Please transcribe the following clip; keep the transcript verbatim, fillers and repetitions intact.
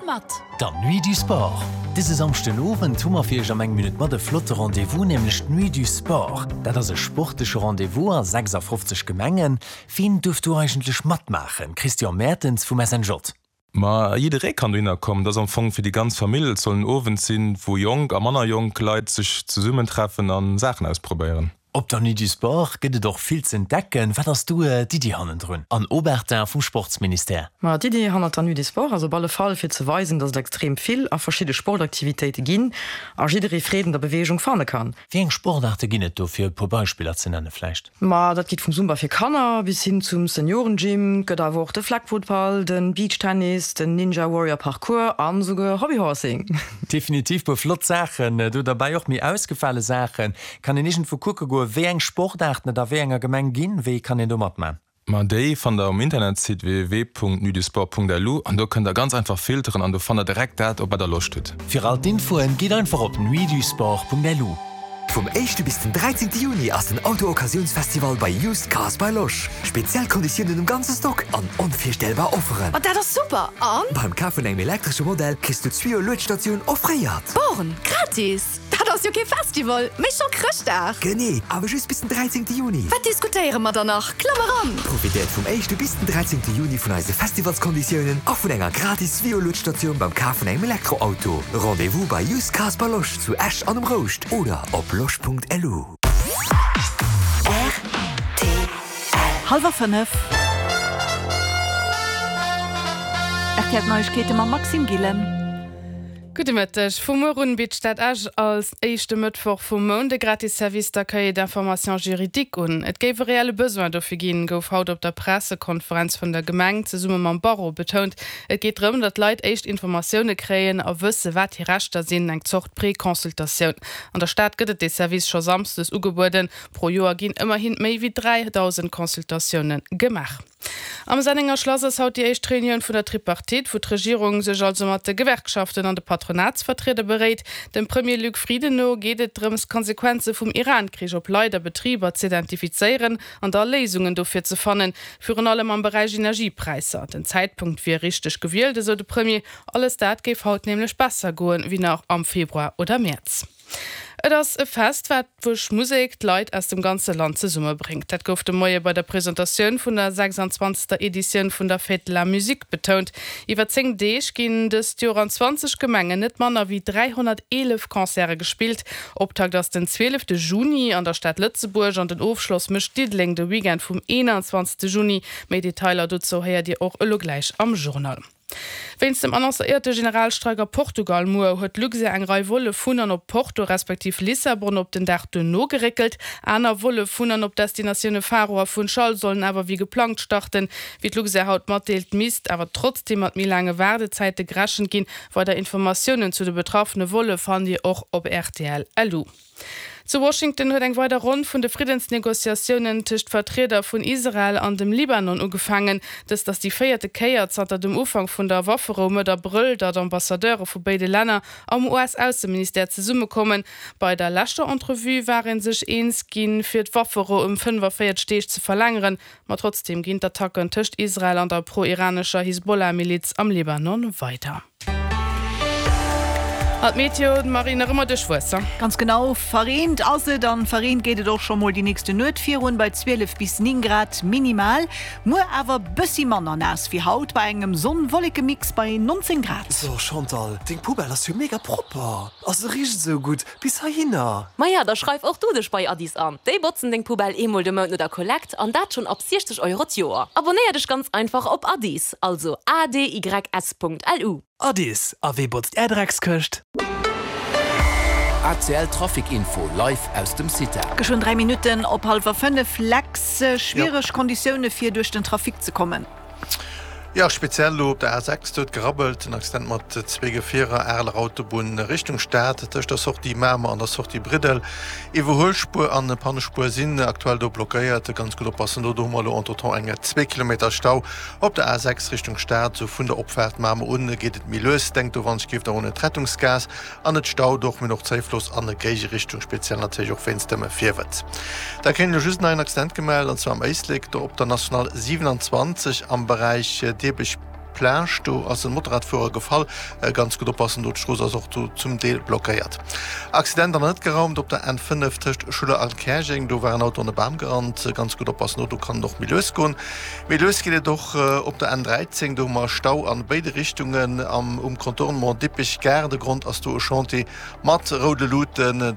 mat! Der Nuit du Sport. Dëse Samschden Owend hu mer fir iech am Eng Minutt mat e flotte Rendez-vous, nämlech d'Nuit du Sport. Dat ass e sportleche Rendez-vous a sechsafofzeg Gemengen. Wien duerf do eigentlech matmaachen? Christian Mertens vum S N J. Ma jidderee kann dohinner kommen. Dat ass am Fong fir déi ganz Famill. Et soll en Owend sinn, wou jonk a manner jonk Leit sech zesummentreffen a Saachen ausprobéieren. Op der Nuit du Sport gëtt et och vill z'entdecken. Wat ass do d'Iddi hannendrun? Anne Obertin vum Sportsministère. Ma d'Iddi hannert der Nuit du Sport ass op alle Fall fir ze weisen, datt et extrem vill a verschidde Sportaktivitéite ginn a jidderee Freed un der Beweegung fanne kann. Wéi eng Sportaarte ginn et do, fir e puer Beispiller ze nenne vläicht? Ma dat geet vum Zumba fir Kanner bis hin zum Seniorengym, gëtt awer och de Flag-Football, den Beachtennis, den Ninja Warrior Parkour an souguer Hobbyhorsing. Definitiv puer flott Saachen do derbäi, och méi ausgefale Saachen. Kann een iergendwou kucke goen, wéi eng Sportaarten et a wéi enger Gemeng ginn? Wéi kann een do matman? Ma déi fannt der um Internetsite w w w Punkt nuitdusport Punkt l u an do kënnt der ganz einfach filteren an do fannt der direkt dat, op wat der Loscht hutt. Fir all d'Infoen, gitt einfach op nuitdusport Punkt l u. Vum éischte bis den dräizéngte Juni ass den Auto-Occasiounsfestival bei Used Cars by Losch. Speziell Konditiounen um ganze Stock an onvirstellbar Offeren. Oh, dat ass super! An? Beim Kaf vun engem elektresche Modell kriss du d'Swio-Luedstatioun offréiert. Born, gratis! Dat ass jo kee Festival, mee scho Chrëschtdag! Genee, awer just bis den dräizéngte Juni. Wat diskutéiere mer dann nach? Klamm eran! Profitéiert vum éischte bis den dräizéngte Juni vun eise Festivalskonditiounen a vun enger gratis Swio-Luedstatioun beim Kaf vun engem Elektroauto. Rendez-vous bei Used Cars by Losch zu Esch an um Rouscht oder op losch Punkt L U. Hallwer fënnef. R T L Neiegkeete mam Maxime Gillen. Gudde Mëtteg. Vu muer un bitt d'Stad Esch als éischte Mëttwoch vum Mount de gratis Service d'accueil et d'information juridique un. Et géif e reelle Besoin dofir ginn, gouf haut op der Pressekonferenz vun der Gemeng zesumme mam Barreau betount. Et geet drëm, datt Leit éischt Informatioune kréien a wësse wat hir Rechter sinn, eng Zort Preconsultatioun. An der Stad gëtt et de Service scho samschdes ugebueden. Pro Joer ginn ëmmerhi méi wéi dräidausend Consultatioune gemaach. Am Sennenger Schlass ass haut déi éischt Reunioun vun der Tripartite, wou d'Regierung sech also mat de Gewerkschaften an de Patronatsvertrieder beréit. Dem Premier Luc Frieden no geet et drëms, Konsequenze vum Iran-Krich op Leit a Betriber ze identifizéieren an da Léisungen dofir ze fannen, virun allem am Beräich Energiepräisser. Den Zäitpunkt wier richteg gewielt, esou de Premier, alles dat géif haut nämlech besser goen, wéi nach am Februar oder Mäerz. Et ass e Fest, wat duerch Musek d'Leit aus dem ganze Land zesummebréngt. Dat gouf de Moie bei der Presentatioun vun der sechsanzwanzegster. Editioun vun der Fête de la Musique betount. Iwwer zéng Deeg ginn dëst Joer an zwanzeg Gemengen net manner wéi dräihonnerteelef Concerte gespillt. Optakt ass den zwielefte Juni an der Stad Lëtzebuerg an den Ofschloss mécht Diddeleng de Weekend vum eenanzwanzegste. Juni. Méi Detailer dozou héiert Dir och elo gläich am Journal. Wéinst dem annoncéierte Generalstreik a Portugal muer huet Luxair eng Rei Volle vun an op Porto respektiv Lissabon op den Dag duerno geréckelt. Aner Volle vun an op Destinatioune Faro a Funchal sollen awer wéi geplangt starten. Wéi d'Luxair haut matdeelt, misst awer trotzdeem mat méi laange Waardezäite gerechent ginn. Weider Informatiounen zu de betraffene Volle fannt Dir och op R T L L U. Zu Washington huet eng weider Ronn vun de Friddensnegociatiounen tëscht Vertrieder vun Israel an dem Libanon ugefaangen. Dëst ass déi véierte Kéier zanter dem Ufank vun der Wafferou Mëtt Abrëll, datt Ambassadeure vu béide Länner am U S-Ausseministère zesummekommen. Bei der leschter Entrevue war ee sech eens ginn, fir d'Wafferou ëm fënnefavéierzeg Deeg ze verlängeren, ma trotzdeem ginn d'Attacken tëscht Israel an der pro-iranescher Hisbollah-Miliz am Libanon weider. An d'Meteo, Marie, nach ëmmer duerchwuess. Ganz genau, verreent ass et an verreent geet et och scho mol déi nächste Nuet virun bei zwielef bis néng Grad minimal. Muer awer bëssi manner naass wéi haut bei engem Sonn-Wolleke-Mix bei nonzéng Grad. So Chantal, deng Poubelle ass jo mega propper. A se richt sou gutt bis heihinner. Maja, da schreif och du dech bei Addis an. Déi botzen deng Poubelle eemol de Mount no der Kollekt an dat schonn ab siechzeg Euro d'Joer. Abonéier dech ganz einfach op Addis, also A D Y S Punkt L U. Addis, a wee botzt är Dreckskëscht? A C L Trafic Info live aus dem CITA. Geschwënn dräi Minutten op hallwer fënnef. Lex, schwiereg Konditioune fir duerch den Trafic ze kommen. Jo, speziell elo op der A sechs, do huet gerabbelt, en Accident mat zwee Gefierer, Areler Autobunn Richtung Stad, tëscht der Sortie Mamer an der Sortie Briddel. Iwwerhuelspuer an Pannespuer sinn aktuell do blockéiert, ganz gutt oppassen do. Do hu mer elo entretemps eng zwee Kilometer Stau op der A sechs Richtung Stad, sou vun der Opfaart Mamer un geet et méi lues. Denkt do wann ech géif der un d'Rettungsgaass an et staut och, mir hunn och Zéifloss an Géigerichtung, speziell natierlech och wéinst dem Virwëtz. Da kréien elo just nach en Accident gemellt, an zwar am Éislek, do op der National siewenundzwanzeg am Beräich Dirbech Plage, do ass en Motorradfuerer gefall. Ganz gutt oppassen do, d'Strooss ass och do zum Deel blockéiert. Accident an der net geraumt op der N fënnef tëscht Schuller an Käerjeng, do war en Auto an e Bam gerannt. Ganz gutt oppassen do, do kann et och méi lues goen. Méi lues geet et och op der N dräizéng, do hu mer Stau an béide Richtungen am um Contournement Dippech Gare. De Grond ass do e Chantier mat roude Luuten.